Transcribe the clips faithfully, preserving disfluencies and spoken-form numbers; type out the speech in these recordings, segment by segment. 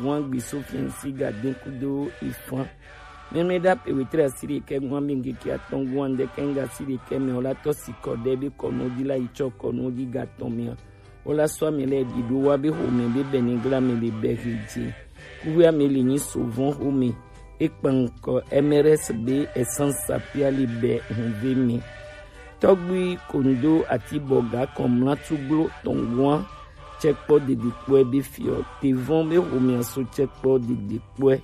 Wan gbi so fiɛnsi ga den kudo ifan. Mɛmɛ da pe wetre asiri ke gwan bingi ki aton gwan de kenga asiri ke me ola to si kode be kono di la icho kono di ga ton mi. Ola so mi le di do wa be ho mi be beni gla mi be be hiji. Kuwe mi le ni souvent ho mi. E kpankɔ M R S be essence sapia li be hun ve mi. Tɔgbi kondo ati boga kɔmla tuglo tɔngwan. Tsɛkpɔ didi kpɔɛ be fiɔ. Tevɔn be homia so tsɛkpɔ didi kpɔɛ.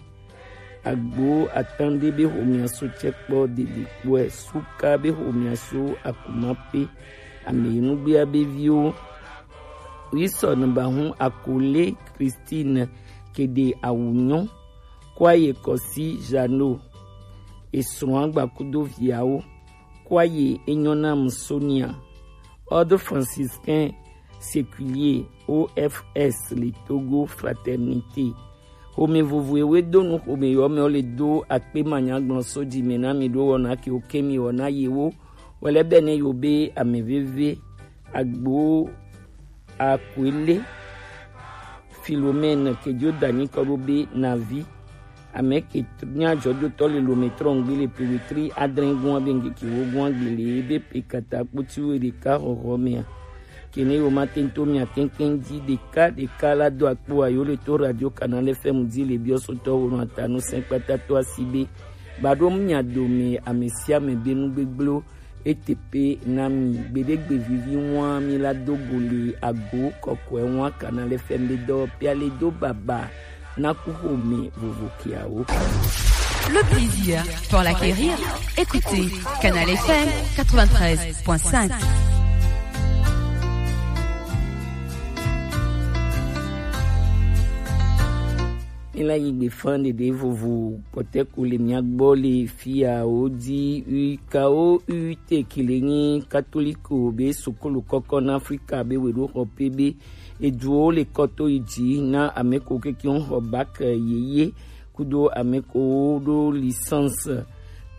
Agbo atande be homia so tsɛkpɔ didi kpɔɛ. Suka be homia so akumape. Ameyinugbea be viwo. Wisɔ ne ba hun akole Christine kede awunyo. Kwaye kɔsi Jano. Esrɔ̃ agbakudo viawo. Kwaye enyɔ nam Sonia. Ordre franciscain séculier O F S le Togo fraternité. Xome vovo ewe do nu xome yɔ mɛ wo le do akpe manyagblɔ so dzi me na mi ɖo wɔna ke wo ke mi wɔna yewo. Wɛlɛ bɛ ne yo be ame veve agbo akwele Philomène ke dzo danyi kɔ ɖo be navi. Ame ke nya dzɔdzɔtɔ le lome trɔngbe le pewetri adre gua be ŋkeke wo gua gbe le ebe pe kata kpoti wo ɖeka xɔxɔ mea. Kene yo ma tento mia keŋkeŋ dzi ɖeka ɖeka la do akpo ayo le to Radio Canal F M dzi le biɔ sotɔ wo nɔ atanu sɛnkpata to asi be ba ɖo mia dome ame sia ame be nu gbegblẽwo. Eteƒe na mi. Gbeɖegbe vivi ŋua mi la do go le ago kɔkɔe ŋua Canal F M be dɔwɔƒea le do baba na kuxome vovo keawo. Le plaisir pour l'acquérir, écoutez Canal F M quatre-vingt-treize point cinq. Míla yi gbe fã ɖeɖe vovo kpɔtɛ ko le mía gbɔ le fia wo di U K O U T ke le nyi katoliko be sukulu kɔkɔ na Afrika be weɖoxɔ pe be eduwo le kɔ to yi dzi na ame ko kekeŋ xɔ bac yeye kudo ame ko ɖo licence.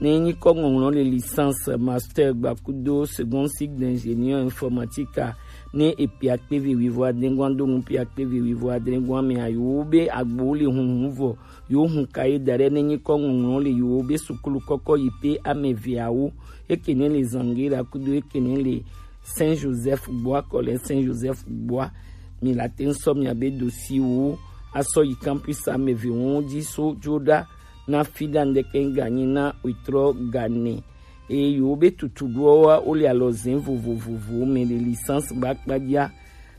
Ne nyi kɔ ŋɔŋlɔ le licence, master gbakudo second cycle d'ingénieur informatique a, ne epe akpe ve wivo adengwan do ŋu pe akpe ve wivo adengwan me a, yewo be agbo le hunhun vɔ, yewo hun ka ye da ɖe ne nyi kɔ ŋɔŋlɔ le yewo be sukulu kɔkɔ yi pe ame veawo, eke ne le Zangera kudo eke ne le Saint Joseph gbɔa, kɔ le Saint Joseph gbɔa, mi la te ŋ sɔ mia be dossier wo asɔ yi campus ame ve wo dzi so dzo ɖa na fi ɖa ŋdeke ŋganyi na wetrɔ gane. Eye yewo be tutuɖoawoa, wole alɔzẽ vovovovowo me le licence ba kpadzia,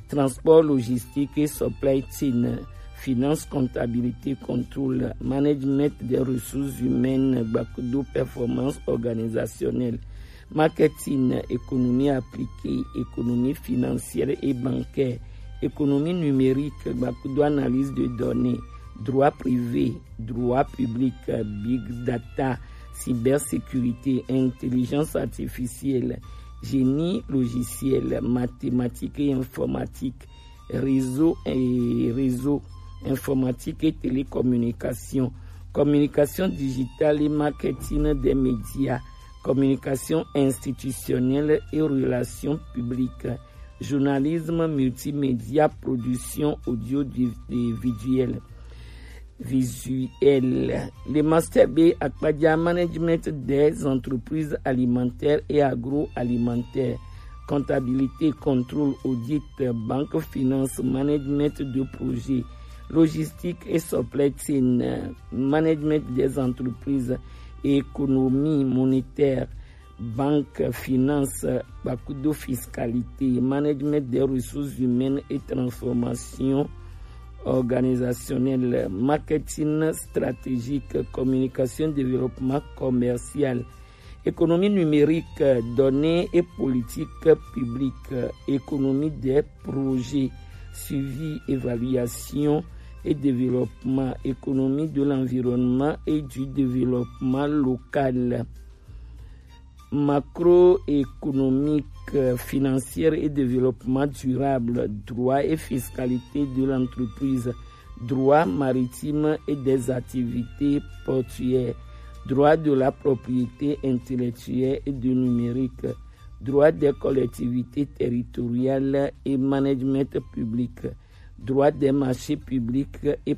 transport, logistique et supply chain, finance, comptabilité, contrôle, management des ressources humaines, gbakudo performance organisationnelle, marketing, économie appliquée, économie financière et bancaire, économie numérique, gbakudo analyse de données, droit privé, droit public, big data, cybersécurité, intelligence artificielle, génie logiciel, mathématiques et informatique, réseau et réseau, informatique et télécommunication, communication digitale et marketing des médias, communication institutionnelle et relations publiques, journalisme multimédia, production audiovisuelle. Visuel. Le master B akpadza, management des entreprises alimentaires et agroalimentaires, comptabilité, contrôle, audit, banque, finance, management de projet, logistique et supply chain, management des entreprises, économie monétaire, banque, finance, gbakudo fiscalité, management des ressources humaines et transformation organisationnelle, marketing stratégique, communication, développement commercial, économie numérique, données et politique publique, économie des projets, suivi, évaluation et développement, économie de l'environnement et du développement local, macroéconomique, financière et développement durable, droit et fiscalité de l'entreprise, droit maritime et des activités portuaires, droit de la propriété intellectuelle et de numérique, droit des collectivités territoriales et management public, droit des marchés publics et